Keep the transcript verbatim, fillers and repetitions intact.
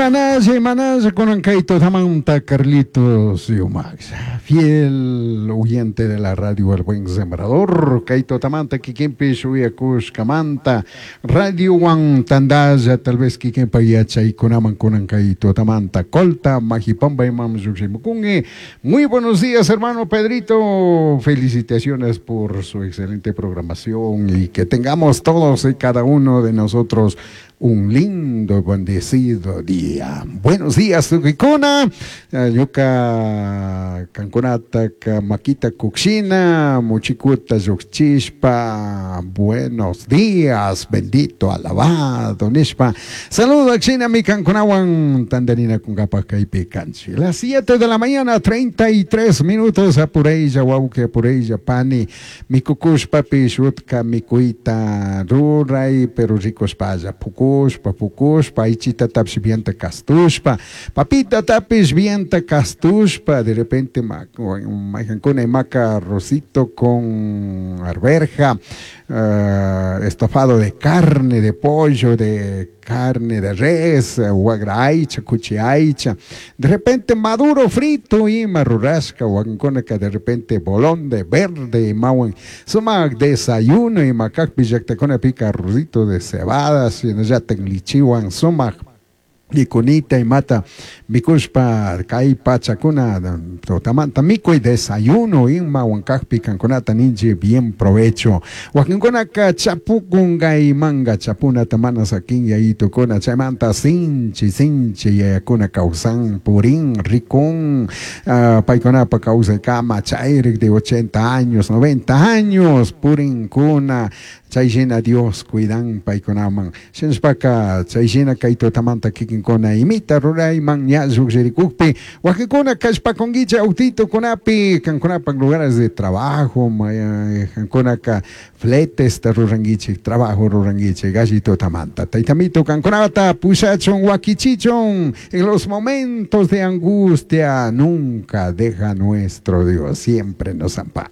Imanalla, imanalla kunan kay tutamanta Carlitos Yumax, fiel oyente de la radio El Buen Sembrador, kay tutamanta kikinpish uyakushkamanta, Radio Wan tandalla, tal vez kikinpa yachaykunaman kunan kay tutamanta, Colta, Majipamba imam llukshimukunki. Muy buenos días, hermano Pedrito, felicitaciones por su excelente programación y que tengamos todos y cada uno de nosotros un lindo, bendecido día. Buenos días, tukuykuna. Ñuka kankunata makita kukshina, muchikuta llukchishpa. Buenos días, bendito, alabado, nishpa. Saludo akshina mi kankunawan tandarina kunkapa kaypi kanchik. Las siete de la mañana, treinta y tres minutos, apuraylla, wawqi, apuraylla, pani. Mikukushpapish utka mikuyta ruray, pero rikushpalla, pukushpa, pukushpa, aychitatapish bienta kastushpa, papitatapish bienta kastushpa, de repente mayqankuna imaka arrocito con arveja, uh, estofado de carne, de pollo, de carne de res, wagra aycha, kuchi aycha, de repente maduro frito ima rurashka, wakinkunaka de repente bolón de verde imawan, sumak desayuno ima kakpi llaktakunapika arrocito de cebada, shinallatak lichiwan sumak mikunita imata mikushpa kay pachakuna tutamanta mikuy desayuno imawan kakpi kankunata ninchik bien provecho. Wakinkunaka chapukun manga chapunata mana sakin yayitukuna chaymanta sinchi sinchi yayakuna kawsan purin rikun, uh, paykunapa kawsaykama chayrik de ochenta años, noventa años purinkuna, chayshina Dios cuidan paykunaman. Shinashpaka chayshina kay tutamanta kikinkuna imita rurayman ña llukshirikukpi wakinkuna kallpakunkichik autitukunapi kankunapak lugares de trabajo, kankunaka fletesta rurankichik, trabajo rurankichik alli tutamanta. Taytamito kankunata pushachun wakichichun en los momentos de angustia, nunca deja nuestro Dios, siempre nos ampara.